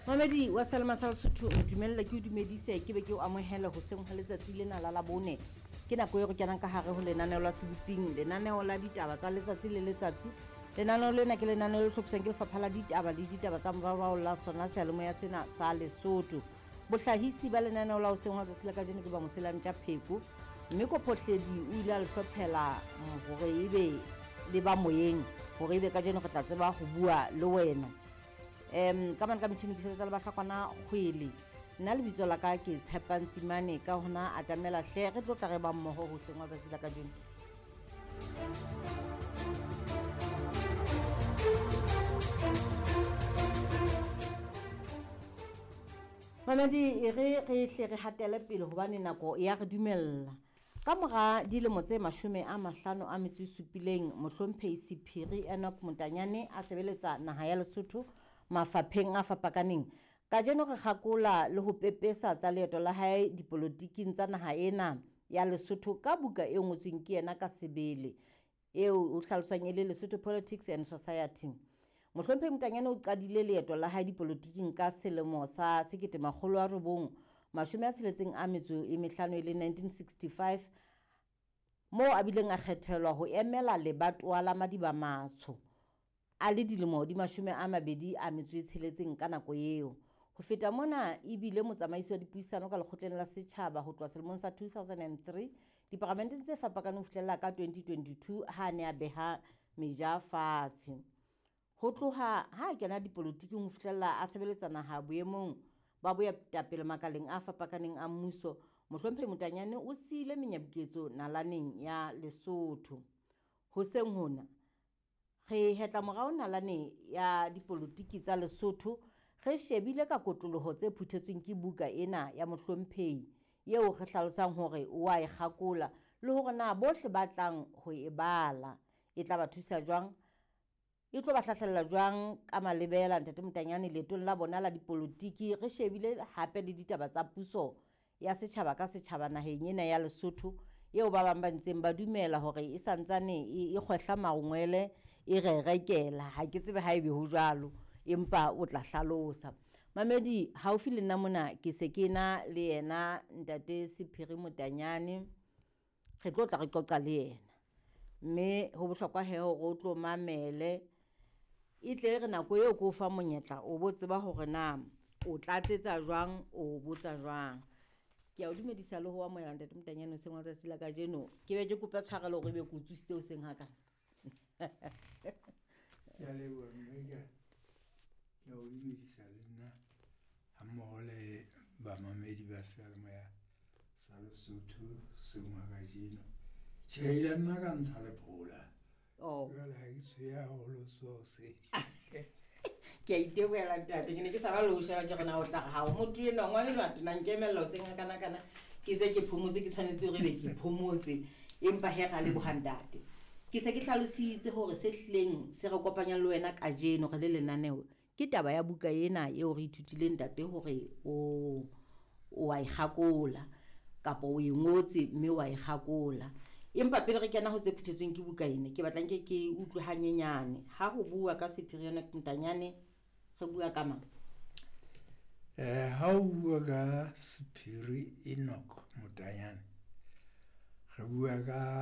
Mamedi wa Selma sa Lesotho, ntumelle ke o dumedise, ke be ke o amohele hoseng hwa letsatsi lena la Labone. Ke nako e re kenang ka hare ho lenaneo la Seboping, lenaneo la ditaba tsa letsatsi le letsatsi. Lenaneo lena ke lenaneo le hlophiswang ke Lefapha la Ditaba le Ditaba tsa Moraorao la sona seyalemoya sena sa Lesotho. Bohlahisi ba lenaneo la hoseng hwa letsatsi la kajeno ke ba Moselantja Pheko, mme Kophohledi o ile a le hlophela hore ebe le ba moyeng, hore ebe kajeno re tla tseba ho bua le wena. Ka mane ka metjhini ke sebetsa le Bahlakwana Kgwele. Nna lebitso la ka ke Tshepang Tsimane, ka hona atamela hle re tlo tla re ba mmoho hoseng hwa letsatsi la kajeno. Mamedi, e re re hle re hatele pele hobane nako ya re dumella. Ka mora dilemo tse 57, mohlomphehi Sephiri Enoch Motanyane a sebeletsa naha ya Lesotho mafapheng a fapakaneng. Kajeno re kgakola le ho pepesa tsa leeto la hae dipolotiking tsa naha ena ya Lesotho ka buka e ngotsweng ke yena ka sebele, eo o hlaloswang e le Lesotho Politics and Society. Mohlomphehi Motanyane o qadile leeto la hae dipolotiking ka selemo sa 1965 e le 1965, moo a bileng a kgethelwa ho emela lebatowa la Madiba Matsho a le dilemo di 26 ka nako eo. Ho feta mona e bile motsamaisi wa dipuisano ka lekgotleng la setjhaba ho tloha selemong sa 2003 diparamenteng tse fapakaneng ho fihlella ka 2022 ha a ne a beha meja fatshe. Ho tloha ha a kena dipolotiking ho fihlella a sebeletsa naha boemong ba boetapele makaleng a fapakaneng a mmuso, mohlomphehi Motanyane o siile menyabuketso nalaneng ya Lesotho. Hoseng hona re hetla morao nalane ya dipolotiki tsa Lesotho, re shebile ka kotloloho tse phuthetsweng ke buka ena ya mohlomphehi eo re hlalosang hore o a e kgakola le hore na bohle ba tlang ho e bala e tla ba thusa jwang, e tlo ba hlahlella jwang ka malebela ntate Motanyane leetong la bona la dipolotiki. Re shebile hape le ditaba tsa puso ya setjhaba ka setjhaba naheng ena ya Lesotho, eo ba bang ba ntseng ba dumela hore e santsane e kgwehla mangwele e re rekela. Ha ke tsebe ha ebe ho jwalo, empa o tla hlalosa. Mamedi, haufi le nna mona ke se ke na le yena ntate Sephiri Motanyane, re tlo tla re qoqa le yena, mme ho bohlokwa he hore o tlo mamele, e tle re nako eo ke o fa monyetla o bo tseba hore na o tlatsetsa jwang, o botsa jwang. Ke a o dumedisa le ho amohela ntate Motanyane hoseng wa letsatsi la kajeno. Ke be ke kope tshwarelo hore ebe ke o tsositse hoseng ha kana. Ke a leboha mme ke a o dumedisa le nna ha mmoho le bamamedi ba seyalemoya sa Lesotho hoseng wa kajeno. Tjhe, ile nna ka ntsha lephola. Jwale ha ke tshweya haholo so hoseng. Ke a itebohela ntate, ke ne ke sa ba le ho sheba ke re na o tla re ha o motho enwa, ngwana enwa a tena nkemella hoseng ha kana kana. Ke se ke phomotse, ke tshwanetse hore ebe ke phomotse, empa he ra leboha ntate. Ke se ke hlalositse hore se hlileng se re kopanyang le wena kajeno re le lenaneo ke taba ya buka ena eo re ithutileng ntate hore o a e kgakola kapa o e ngotse mme wa e kgakola. Empa pele re kena ho tse phuthetsweng ke buka ena, ke batla nke ke utlwe hanyenyane. Ha ho bua ka Sephiri Enoch Motanyane, re bua ka mang? Ha o bua ka Sephiri Enoch Motanyane, re bua ka